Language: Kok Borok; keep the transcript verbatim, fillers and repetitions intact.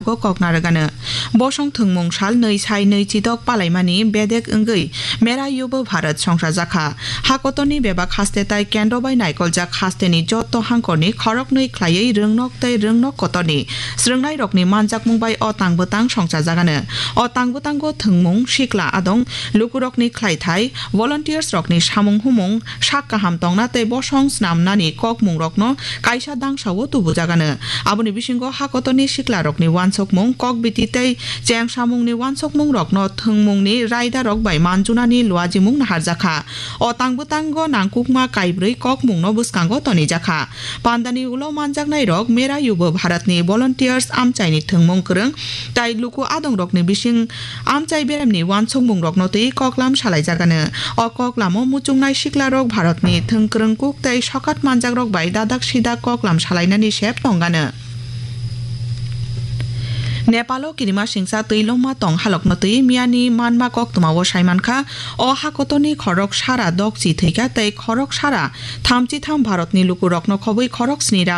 bo kok narwgano. Bosong thwngmung sal nwi sai nwi chidok palaimani bedek wngwi Mera Yuva Bharat songsa jakha. Hakotorni bebak haste tai kendro bai naikoljak hasteni jotto hangkorni khoroknwi khlaiwi rwngnok tei rwngnok kotorni swrwngnairokni manjakmung bai o tang bwtang songsa jagano. O tang bwtango thwngmung, sikla adong, lukurokni khlaithai, volunteers rokni samung humung, sak kaham tongna tei bosong snamnani kokmungrokno kaisa dangsao tubujagano. Aboni bisingo hakotorni siklarokni wansokmung, kokbiti tei chengsamungni wansokmungrokno thwngmungni raidarok bai manjunani luajimung naharjakha. O tang bwtango nangkukma kaibrwi kokmungno bwskango tonijakha. Pandani ulo manjaknairok Mera Yuva Bharatni volunteers amchaini thwngmung kwrwng tai luku adongrokni bising amchai beremni wansukmungrokno twi koklam salaijagano. O koklamo muchungnai siklarok Bharatni thwngkwrwng kuk tei sokat manjakrok bai dadak sidak koklam salainani sep tongano. Nepalo kirima singsa twi longma tong halokno twi miyani manma koktwmao saimankha, o hakotorni khorok sara dokchi thwikha tei khorok sara thamchi tham Bharatni lukurokno khobwi khorok snira